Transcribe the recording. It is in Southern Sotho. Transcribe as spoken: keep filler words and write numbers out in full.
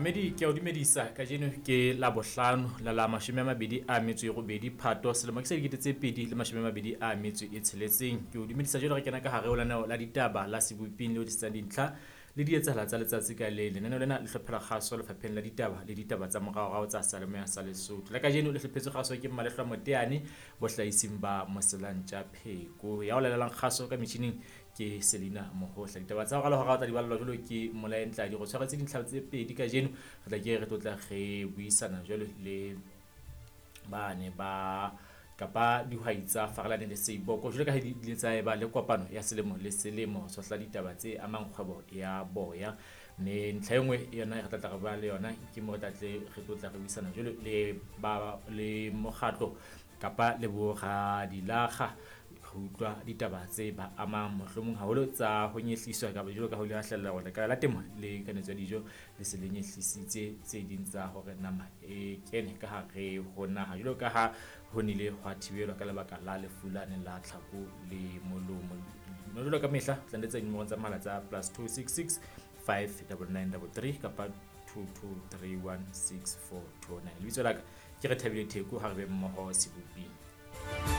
Mamedi ke a o dumedisa kajeno ke Labohlano la la mashome a mabedi a metso e robedi Phato selemo ke sa dikete tse pedi le mashome a mabedi a metso e tsheletseng. Ke o dumedisa jwalo re kena ka hare ho lenaneo la ditaba la Seboping le o tlisetsang dintlha le dietsahala tsa letsatsi ka leng. Lenaneo lena le hlophela kgaso lefapheng la ditaba le ditaba tsa moraorao tsa seyalemoya sa Lesotho. La kajeno le hlophetswe kgaso ke Mmalehlwa Moteane bohlahising ba Moselantja Pheko. Ya o lalelang kgaso ka metjhining ke Selina Mohohla. Ditaba tsa hora le hora o tla di ballwa jwalo ke Molae Ntladi. Re tshwaretse dintlha tse pedi kajeno, re tla ke re tlotla re buisana jwalo le bane ba kapa dihwai tsa Farelane le Seiboko jwalo ka ha di ile tsa eba le kopano ya selemo le selemo ho tshohla ditaba tse amang kgwebo ya boya. Mme ntlha e nngwe yona e re tla tla re bua le yona ke mo re tla tle re tlotla re buisana jwalo le ba le mokgatlo kapa le boradilakga ho utlwa ditaba tse ba amang mohlomong haholo tsa ho nyehliswa kapa jwalo ka ho ile ha hlahella hore lekala la temo le kanetso ya dijo le se le nyehlisitse tse ding tsa hore nama e kene ka hare ho naha jwalo ka ha ho nnile hwa thibelwa ka lebaka la lefu lane la tlhako le molomo. Jwalo ka mehla tla letsa dinomoro tsa mohala tsa plus two six six five double nine double three kapa two two three one six four two nine. Lebitso la ka ke Rethabile Theko, ha re be mmoho Seboping.